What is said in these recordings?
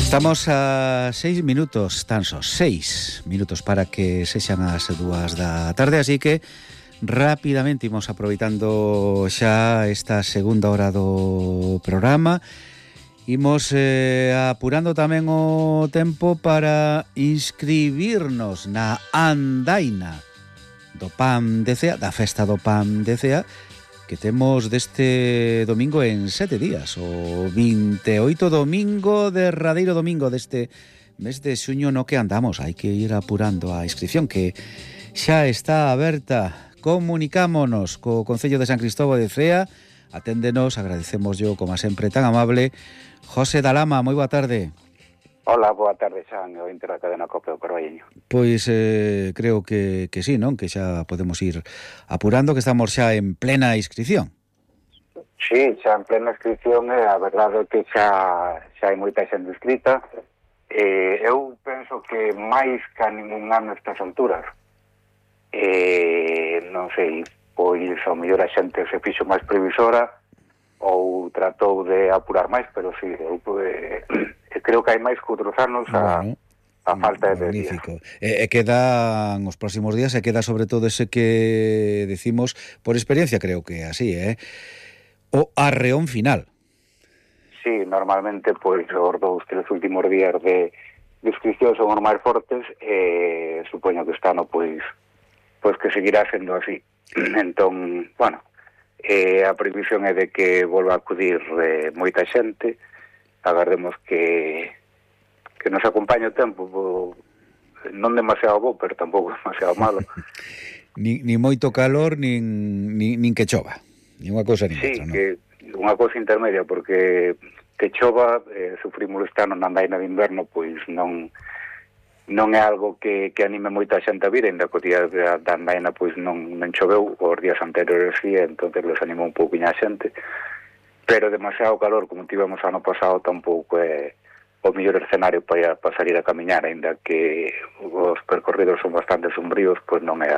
Estamos a 6 minutos, tan só 6 minutos para que sexan as 2 da tarde, así que rapidamente imos aproveitando xa esta segunda hora do programa. Imos apurando tamén o tempo para inscribirnos na andaina do PAM de Cea, da festa do PAM de Cea, que temos deste domingo en 7 días, o 28 domingo, derradeiro domingo deste mes de xuño no que andamos. Hai que ir apurando a inscripción, que xa está aberta. Comunicámonos co Concello de San Cristóbal de Cea. Aténdenos, agradecemos yo, como sempre, tan amable, José Dalama. Moi boa tarde. Hola, boa tarde, Xan, o Inter da cadena COPE o Carballiño. Pois creo que sí, non? Que xa podemos ir apurando, que estamos xa en plena inscripción. Sí, xa en plena inscripción, a verdade é que xa hai moita xente inscrita. Eu penso que máis que a ningún ano estas alturas. Non sei, pois ao mellor a xente se fixo máis previsora ou tratou de apurar máis, pero sí, eu creo que hai máis que outros anos a falta de días. Quedan os próximos días, e queda sobre todo ese que decimos, por experiencia creo que así, o arreón final. Sí, normalmente pois os 2-3 últimos días de inscripción son os máis fortes, supoño que este ano pois que seguirá sendo así. Entón, bueno, a previsión é de que volva a acudir moita xente. Agardemos que nos acompañe o tempo, non demasiado bo, pero tampouco demasiado malo. ni moito calor, nin que chova, ni unha cousa ni outra, non? Sí, que unha cousa intermedia, porque que chova, sufrimos este ano na andaina de inverno, pois non é algo que anime moita xente a vir, ainda que o día da andaina pois non choveu, os días anteriores sí, entonces les animou un pouquinho a xente, pero demasiado calor, como tivemos ano pasado, tampouco é o mellor escenario para salir a camiñar, ainda que os percorridos son bastante sombríos, pois non é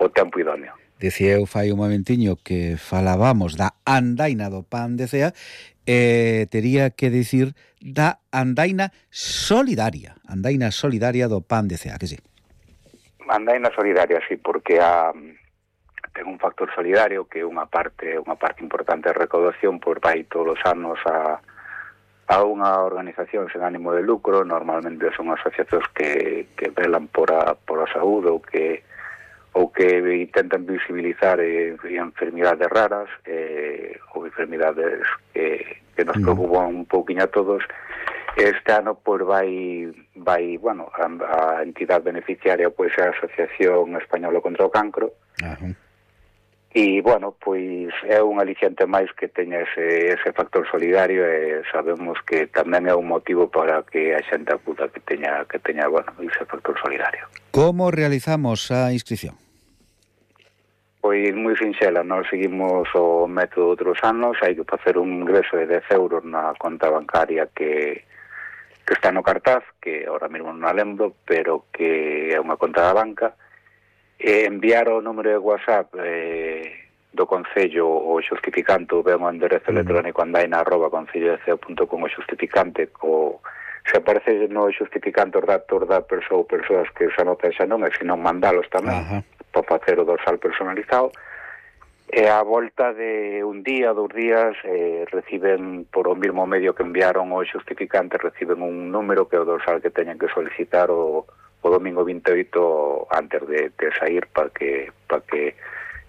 o tempo idóneo. Decía eu fai un momentiño que falábamos da andaina do PAM de Cea, tería que dicir da andaina solidaria do PAM de Cea, que sí? Andaina solidaria, sí, porque ten un factor solidario que é unha parte importante de recaudación, pois vai todos os anos a unha organización sen ánimo de lucro. Normalmente son asociacións que velan por a saúde ou que intentan visibilizar enfermidades raras ou enfermidades que nos preocupan un pouquinho a todos. Este ano pois vai bueno, a entidade beneficiaria pois é a Asociación Española contra o Cancro. E, bueno, pois é un aliciente máis que teña ese factor solidario, e sabemos que tamén é un motivo para que a xente acuda que teña bueno, ese factor solidario. Como realizamos a inscripción? Pois moi sinxela, nós seguimos o método de outros anos. Hai que facer un ingreso de 10 euros na conta bancaria que está no cartaz, que ahora mesmo non a lembro, pero que é unha conta da banca. Enviar o número de WhatsApp do Concello o xustificante, o vemos o enderezo electrónico andaina@concellodeceo.com, o xustificante, se aparece no xustificante os datos da persoa ou persoas que se anotan xa non, e se non mandalos tamén, para facer o dorsal personalizado. E a volta de un día, 2 días, reciben por o mesmo medio que enviaron o xustificante, reciben un número que é o dorsal que teñen que solicitar o domingo 28 antes de sair, para que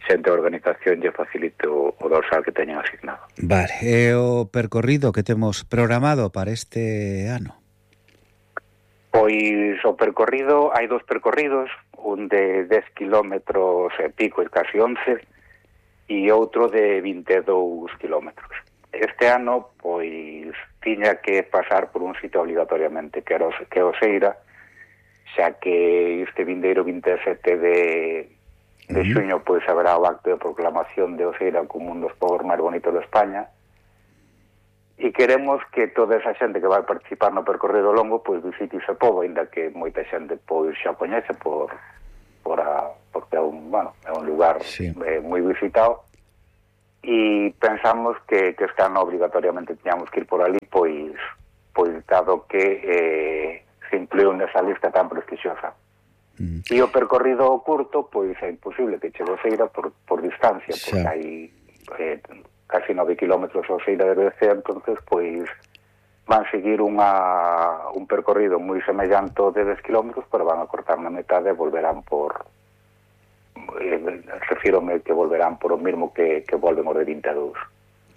xente da organización lle facilite o dorsal que teñen asignado. Vale, e o percorrido que temos programado para este ano? Pois o percorrido, hai 2 percorridos, un de 10 kilómetros e pico, e casi 11, e outro de 22 kilómetros. Este ano, pois, tiña que pasar por un sitio obligatoriamente, que é Oseira, xa que este vindeiro 27 de xuño pois haberá o acto de proclamación de Oseira como un dos povos máis bonitos de España, e queremos que toda esa xente que vai participar no percorrido longo pois visite ese pobo, ainda que moita xente pois xa coñece porque é un lugar moi visitado, e pensamos que este ano obligatoriamente tiñamos que ir por ali, pois dado que se incluiu nesa lista tan prestixiosa. E o percorrido curto, pois é imposible que chegue a Oseira por distancia, porque hai casi 9 kilómetros a Oseira de Bercea, entonces pois van seguir un percorrido moi semellante ao de 10 kilómetros, pero van a cortar na metade e volverán por refírome que volverán por o mismo que volven os de 22.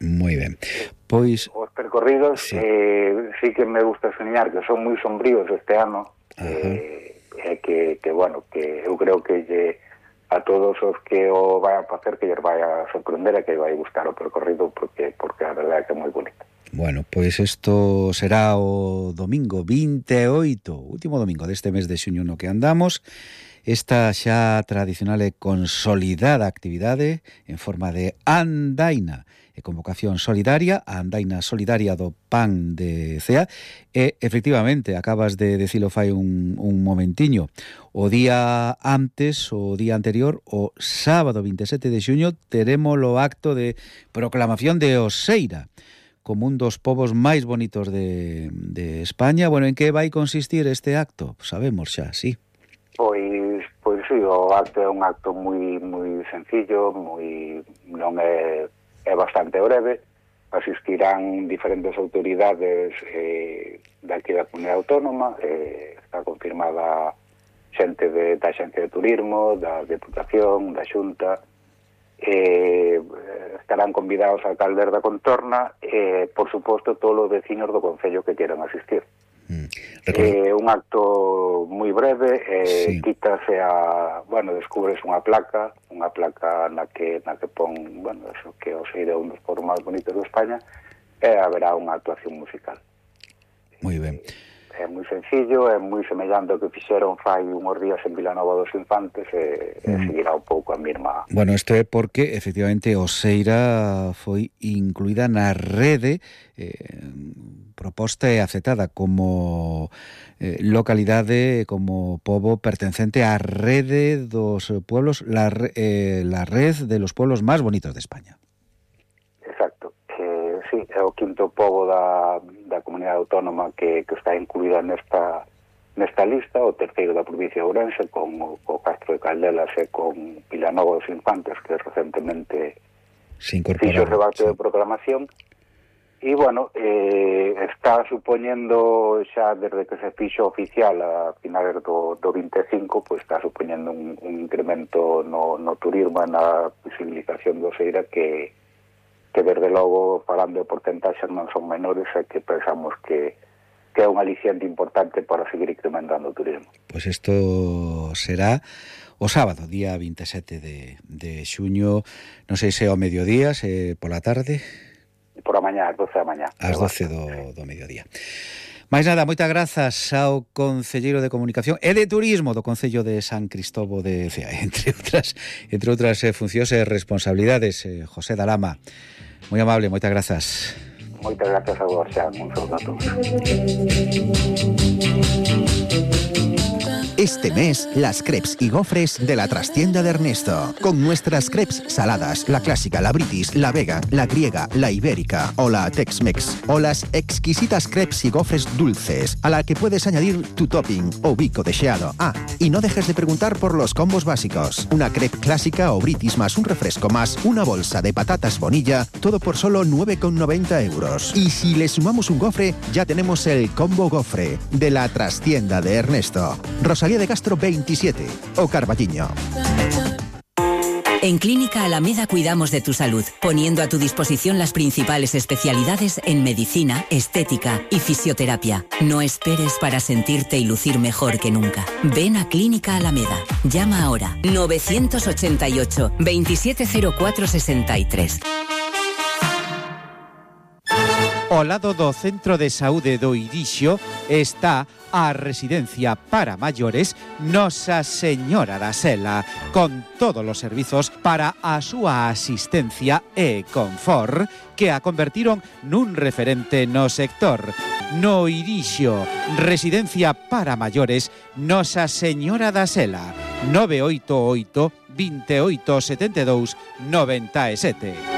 Moi ben. Pois os percorridos sí que me gusta señalar que son moi sombríos este ano, que bueno, que eu creo que a todos os que o vai a facer que lles vai a sorprender e que vai gustar o percorrido porque a verdade é que é moi bonito. Bueno, pois isto será o domingo 28, último domingo deste mes de xuño no que andamos. Esta xa tradicional e consolidada actividade en forma de andaina e convocación solidaria, a andaina solidaria do Pan de Cea, e efectivamente, acabas de decilo fai un momentiño, o día antes, o día anterior, o sábado 27 de xuño, teremos o acto de proclamación de Oseira como un dos povos máis bonitos de España. Bueno, en que vai consistir este acto? Sabemos xa, sí. Pois sí, o acto é un acto moi sencillo, non é bastante breve. Asistirán diferentes autoridades daqui da Comunidade Autónoma, está confirmada xente da Axencia de Turismo, da Deputación, da Xunta, estarán convidados a alcaldes da contorna e, por suposto, todos os vecinos do concello que quieran asistir. Un acto moi breve, quítase descubres unha placa na que pon, eso que Oseira é un dos povos máis bonitos de España, e haberá unha actuación musical. Moi ben. É moi sencillo, é moi semellante ao que fixeron fai unhos días en Vilanova dos Infantes e seguirá un pouco a mesma. Bueno, isto é porque efectivamente Oseira foi incluída na rede proposta e aceptada como localidade, como pobo pertencente á rede dos pueblos, la red de los pueblos máis bonitos de España. Exacto. Sí, é o quinto pobo da Comunidade Autónoma que está incluída nesta lista, o terceiro da provincia de Ourense, con o Castro de Caldelas e con Vilanova dos Infantes, que recentemente fixo o debate de proclamación. E, bueno, está supoñendo xa desde que se fixo oficial a finales do 25, pues está supoñendo un incremento no turismo e na visibilización do Oseira que desde logo, falando de porcentaxes, non son menores e que pensamos que é un aliciente importante para seguir incrementando o turismo. Pois isto será o sábado, día 27 de xuño, non sei se ao mediodía, se pola tarde. Por a mañá, ás 12 da mañá. Ás 12 do mediodía. Mais nada, moitas grazas ao Concelleiro de Comunicación e de Turismo do Concello de San Cristóbal de Cea, entre outras funcións e responsabilidades, José Dalama. Moi amable, moitas grazas. Moitas grazas a vos, xa, un saúdo a todos. Este mes, las crepes y gofres de la trastienda de Ernesto. Con nuestras crepes saladas, la clásica, la british, la vegan, la griega, la ibérica o la Tex-Mex. O las exquisitas crepes y gofres dulces, a la que puedes añadir tu topping o bico deseado. Ah, y no dejes de preguntar por los combos básicos. Una crepe clásica o british más un refresco más una bolsa de patatas Bonilla, todo por solo 9,90 €. Y si le sumamos un gofre, ya tenemos el combo gofre de la trastienda de Ernesto. Rosalía de Castro 27 o Carballiño. En Clínica Alameda cuidamos de tu salud, poniendo a tu disposición las principales especialidades en medicina, estética y fisioterapia. No esperes para sentirte y lucir mejor que nunca. Ven a Clínica Alameda. Llama ahora 988 270463. Ao lado do Centro de Saúde do Irixo está a residencia para maiores Nosa Señora da Sela, con todos os servizos para a súa asistencia e confort que a convertiron nun referente no sector. No Irixo, residencia para maiores Nosa Señora da Sela, 988 28 72 97.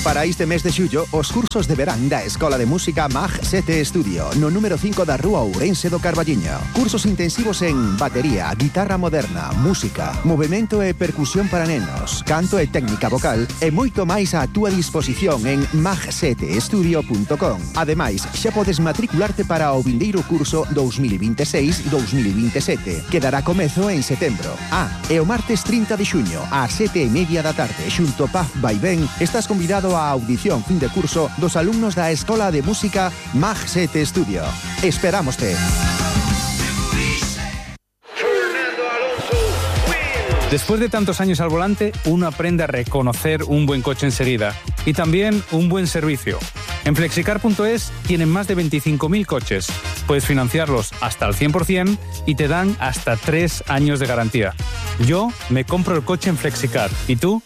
Para este mes de xullo, os cursos de verán da Escola de Música MAG 7 Estudio, no número 5 da Rúa Ourense do Carballiño. Cursos intensivos en batería, guitarra moderna, música, movimento e percusión para nenos, canto e técnica vocal e moito máis á túa disposición en mag7estudio.com. Ademais, xa podes matricularte para o vindeiro curso 2026-2027, que dará comezo en setembro. E o martes 30 de xuño, ás 7:30 da tarde, xunto Paz Vaivén, estás convidado á audición fin de curso dos alumnos da Escola de Música MAG 7 Estudio. Esperámoste. Después de tantos años al volante, uno aprende a reconocer un buen coche enseguida y también un buen servicio. En Flexicar.es tienen más de 25.000 coches. Puedes financiarlos hasta el 100% y te dan hasta 3 años de garantía. Yo me compro el coche en Flexicar. ¿Y tú?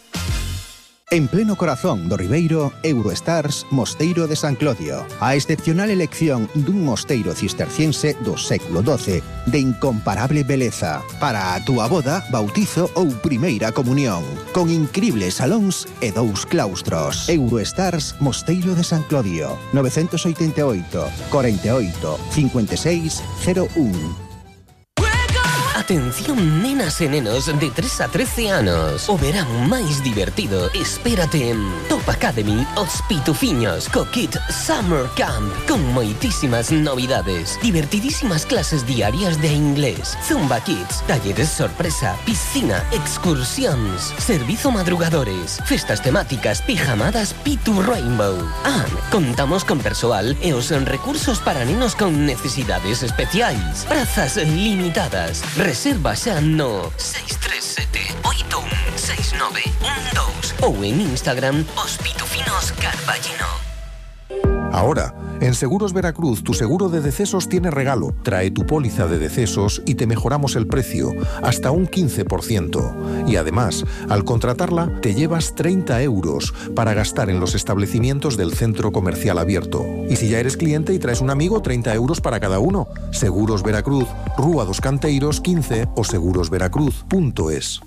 En pleno corazón do Ribeiro, Eurostars Mosteiro de San Clodio. A excepcional elección dun mosteiro cisterciense do século XII de incomparable beleza para a túa boda, bautizo ou primeira comunión, con incribles salóns e 2 claustros. Eurostars Mosteiro de San Clodio, 988 48 56 01. Atención nenas e nenos de 3 a 13 anos. O verán máis divertido espérate en Top Academy Os Pitufiños co kit Summer Camp, con moitísimas novidades, divertidísimas clases diarias de inglés, Zumba Kids, talleres sorpresa, piscina, excursións, servizo madrugadores, festas temáticas, pijamadas Pitu Rainbow. Contamos con persoal e os recursos para nenos con necesidades especiais. Prazas limitadas. Reserva xa no 637-816912 ou en Instagram Os Pitufinos Carballino. Ahora, en Seguros Veracruz, tu seguro de decesos tiene regalo. Trae tu póliza de decesos y te mejoramos el precio, hasta un 15%. Y además, al contratarla, te llevas 30 euros para gastar en los establecimientos del centro comercial abierto. Y si ya eres cliente y traes un amigo, 30 euros para cada uno. Seguros Veracruz, Rúa dos Canteiros 15 o segurosveracruz.es.